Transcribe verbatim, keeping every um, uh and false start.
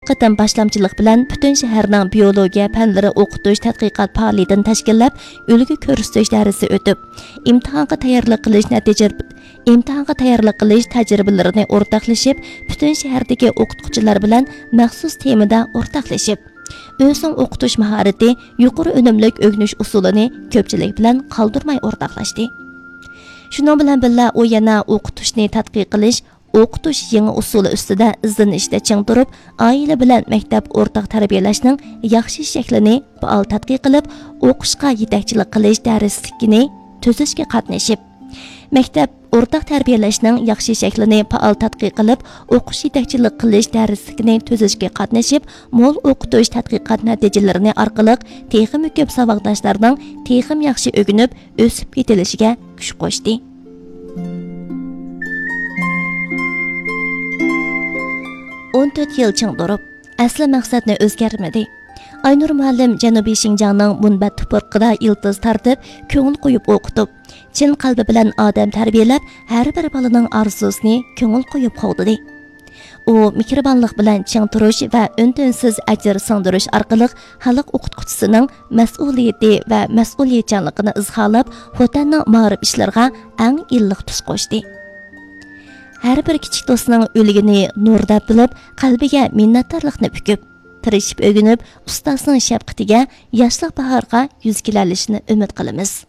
قېتىم باشلامچىلىق بىلەن پۈتۈن شەھەرنىڭ بىيولوگىيە پەنلىرى ئوقۇتۇش تەتقىقات پائالىيىتىنى تەشكىللەپ، ئۈلگە كۆرسىتىش دەرسى ئۆتۈپ، ئىمتىھانغا تەييارلىق قىلىش نەتىجە، ئىمتىھانغا تەييارلىق قىلىش تەجرىبىلىرىنى ئورتاقلىشىپ، پۈتۈن شەھەردىكى ئوقۇتقۇچىلار بىلەن مەخسۇس تېمىدا ئورتاقلىشىپ، ئۆزىنىڭ ئوقۇتۇش ماھارىتى، يۇقىرى ئۈنۈملۈك ئۆگىنىش ئۇسۇلىنى كۆپچىلىك بىلەن قالدۇرماي ئورتاقلاشتى. شۇنىڭ بىلەن بىللە، ئۇ يەنە ئوقۇتۇشنى تەتقىق قىلىش، ئوقۇتۇش يېڭى ئۇسۇلى ئۈستىدە ئىزدىنىشتە چىڭ تۇرۇپ، ئائىلە بىلەن مەكتەپ ئورتاق تەربىيەلەشنىڭ ياخشى شەكلىنى پائال تەتقىق قىلىپ، ئوقۇشقا يېتەكچىلىك قىلىش دەرسلىكىنى تۈزۈشكە قاتنىشىپ، مەكتەپ ئورتاق تەربىيەلەشنىڭ ياخشى شەكلىنى پائال تەتقىق قىلىپ، ئوقۇش يېتەكچىلىك قىلىش دەرسلىكىنى تۈزۈشكە قاتنىشىپ، مول ئوقۇتۇش تەتقىقات نەتىجىلىرىنى ئارقىلىق تېخىمۇ كۆپ ساۋاقداشلارنىڭ تېخىمۇ ياخشى ئۆگىنىپ، ئۆسۈپ يېتىلىشىگە كۈچ قوشتى. ئون تۆت يىل چىڭ تۇرۇپ، ئەسلى مەقسەتنى ئۆزگەرتمىدى. ئاينۇر مۇئەللىم جەنۇبىي شىنجاڭنىڭ مۇنبەت تۇپرىقىدا يىلتىز تارتىپ، كۆڭۈل قويۇپ ئوقۇتۇپ، چىن قەلبى بىلەن ئادەم تەربىيەلەپ، ھەر بىر بالىنىڭ ئارزۇسىنى كۆڭۈل قويۇپ قوغدىدى. ئۇ مېھرىبانلىق بىلەن چىڭ تۇرۇش ۋە ئۈن-تىنسىز ئەجىر سىڭدۈرۈش ئارقىلىق خەلق ئوقۇتقۇچىسىنىڭ مەسئۇلىيىتى ۋە مەسئۇلىيەتچانلىقىنى ئىزھارلاپ، خوتەننىڭ مائارىپ ئىشلىرىغا ئەڭ ئىللىق تۈس قوشتى. ھەر بىر كىچىك دوستنىڭ ئۆلگىنى نۇر دەپ بىلىپ، قەلبىگە مىننەتدارلىقنى پۈكۈپ، تىرىشىپ ئۆگىنىپ، ئۇستازنىڭ شەپقىتىگە، ياشلىق باھارغا يۈز كېلەلىشىنى ئۈمىد قىلىمىز.